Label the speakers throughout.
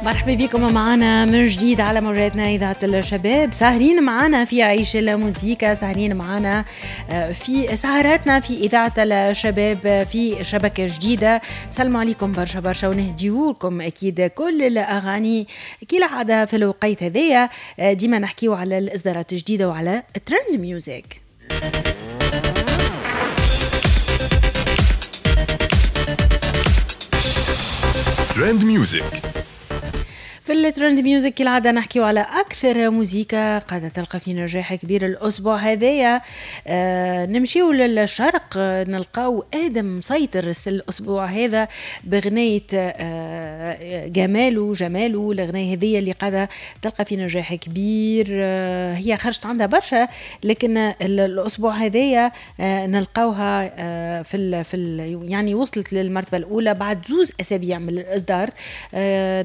Speaker 1: مرحبا بكم معنا من جديد على موجاتنا إذاعة الشباب. ساهرين معنا في عيش الموزيكا، ساهرين معنا في سهراتنا في إذاعة الشباب في شبكة جديدة. سلموا عليكم برشا برشا ونهديولكم أكيد كل الأغاني كالعادة في الوقيت هذايا. ديما نحكيو على الإصدارات الجديدة وعلى trend music.
Speaker 2: trend music.
Speaker 1: في ال trend music كالعادة نحكيو على أكثر موزيكا قاعدة تلقى في نجاح كبير الأسبوع هذايا. نمشيو للشرق، نلقاو آدم مسيطر الأسبوع هذا بغناية جمالو جمالو. الغناية هذية اللي قاعدة تلقى في نجاح كبير، هي خرجت عندها برشا، لكن الأسبوع هذايا نلقاوها في يعني وصلت للمرتبة الأولى بعد 2 أسابيع من الإصدار.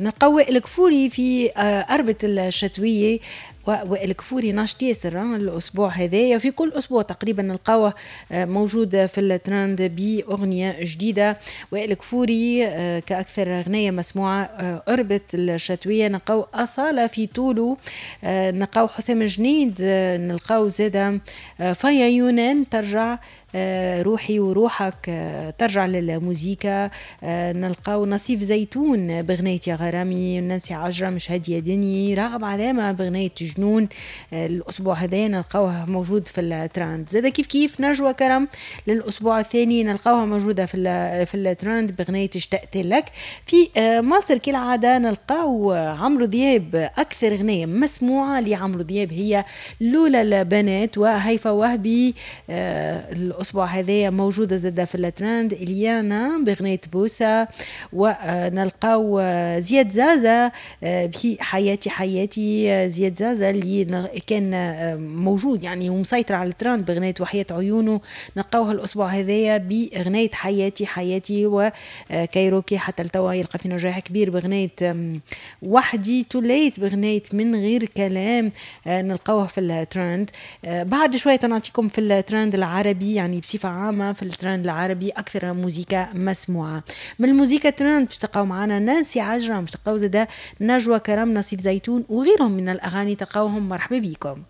Speaker 1: نلقاو وائل كفوري في أربة الشتوية، وائل كفوري ناشط ياسر الأسبوع هذايا. في كل أسبوع تقريبا نلقاوه موجود في الترند بأغنية جديدة. وائل كفوري كأكثر أغنية مسموعة أربة الشتوية. نلقاو أصالة في طولو، نلقاو حسام جنيد، نلقاو زادة فايا يونان ترجع روحي وروحك ترجع للموزيكا. نلقاو نصيف زيتون بغناية يا غرامي، نانسي عجرم مش هادية دني، راغب علامة بغناية جنون. الأسبوع هذا نلقاوها موجود في الترند. زاد كيف كيف نجوى كرم للأسبوع الثاني نلقاوها موجودة في الترند بغناية اشتقت لك. في مصر كالعادة نلقاو عمرو دياب، أكثر غناية مسموعة لعمرو دياب هي لولا البنات وهيفا وهبي. الأسبوع هذايا موجودة زادة في الترند إليانا بغناية بوسة، ونلقاو زياد زازا في حياتي حياتي. زياد زازا اللي كان موجود يعني ومسيطر على الترند بغناية وحياة عيونه، نلقاوها الأسبوع هذايا بغناية حياتي حياتي. وكايروكي حتى لتوا يلقى في نجاح كبير بغناية وحدي توليت، بغناية من غير كلام نلقاوها في الترند. بعد شوية نعطيكم في الترند العربي، يعني بصفة عامة في الترند العربي أكثر موزيكا مسموعة. من الموزيكا ترند باش تلقاو معنا نانسي عجرم، باش تلقاو زادا نجوى كرم، نصيف زيتون وغيرهم من الأغاني تلقاوهم. مرحبا بكم.